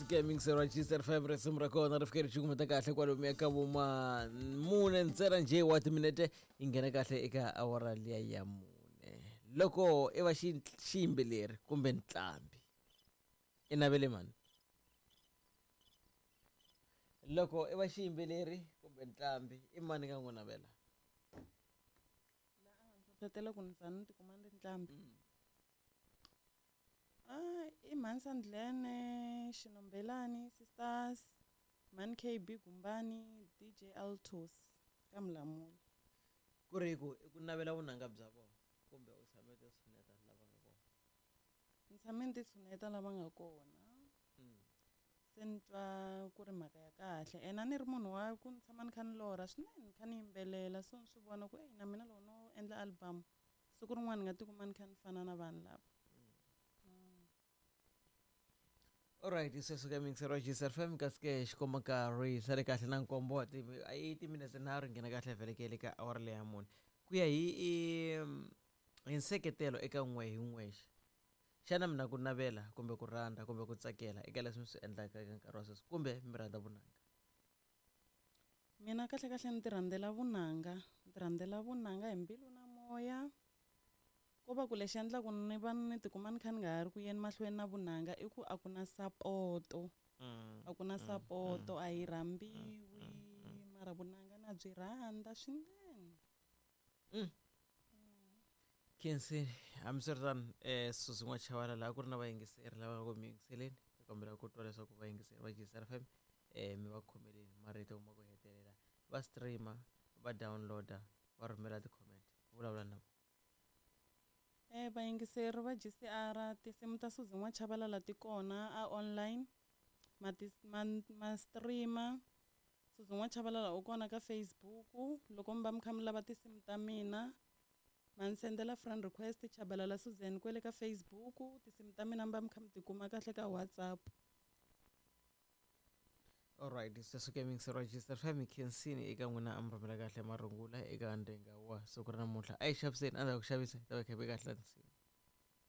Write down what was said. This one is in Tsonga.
Sweswo ke mingiselo Register FM, risimu ra kona ri fike ri cukumeta kahle kwalomuya ka voma 4 ntsena njhe wa timinete, yi nghena kahle eka awara liya ya 4. Loko i va xiyimbeleri kumbe ntlambi, i navele mani? Loko i va xiyimbeleri kumbe ntlambi, i mani nga n'wi navela? La a nga ni hlohlotela ku ni za ni tikuma ni ri ntlambi. I Mhani Sandlene, Xinombelani Sisters, Mhani KB Gumbani, DJ Altos ka Mulamula. Ku ri ku i ku navela vunanga bya vona kumbe u tshame ti tshuneta lava nga kona? Ni tshame ni ti tshuneta lava nga kona. Se ni twa ku ri mhaka ya kahle. Ene a ni ri munhu wa ku ni tshama ni kha ni lorha swinene, ni kha ni yimbelela, so ni swi vona ku na mina loko no endla album siku rin'wana ni nga tikuma ni kha ni fana na vanhu lava. Alright, sweswo ka mixer wa Gisa FM, kasi ke xikomba nkarhi sale kahle na nkombo wa i timinetse nharhu nghena kahle vhelekele ka awara leya 4. Ku ya hi nseketelo eka n'we hi n'wexe, xana mina ku navela kumbe ku rhandza kumbe ku tsakela eka leswi mi swi endlaka eka nkarhi wa sweswi, kumbe mi rhandza vunanga? Mina kahle kahle ni ti rhandzela vunanga, ni ti rhandzela vunanga hi mbilu na moya. Ko va ku lexi endlaku ni va ni tikuma ni kha ni nga ha ri ku yeni mahlweni na vunanga i ku a ku na sapoto. A ku na sapoto, a hi rhambiwi, mara vunanga na byi rhandza swinene. Khensini, hambiswiritano, Suzi N'wachavala laha ku ri na vayingiseri lava nga ku mi yingiseleni, hi kombela ku twa leswaku vayingiseri va Gisa FM mi va khomeleni marito ma ku hetelela, va streamer, va downloader, va rhumela ti-comment, vulavula na vona. Vayingiseri va GCR, tinsimu ta Suzi N'wachavalala ti kona a online, ma streamer. Suzi N'wachavalala u kona ka Facebook. Loko mi va mi kha mi lava tinsimu ta mina, ma ni sendela friend request Chabalala Susan kwele ka Facebook. Tinsimu ta mina mi va mi kha mi ti kuma kahle ka WhatsApp. Alright, sweswo ke mixer wa Gisa FM, Khensini eka n'wina a mi rhumela kahle marungula eka ndhenga wa siku ra namuntlha. A yi xaviseni, endzhaku ku xavisa hi ta va kha hi kahle nsimu.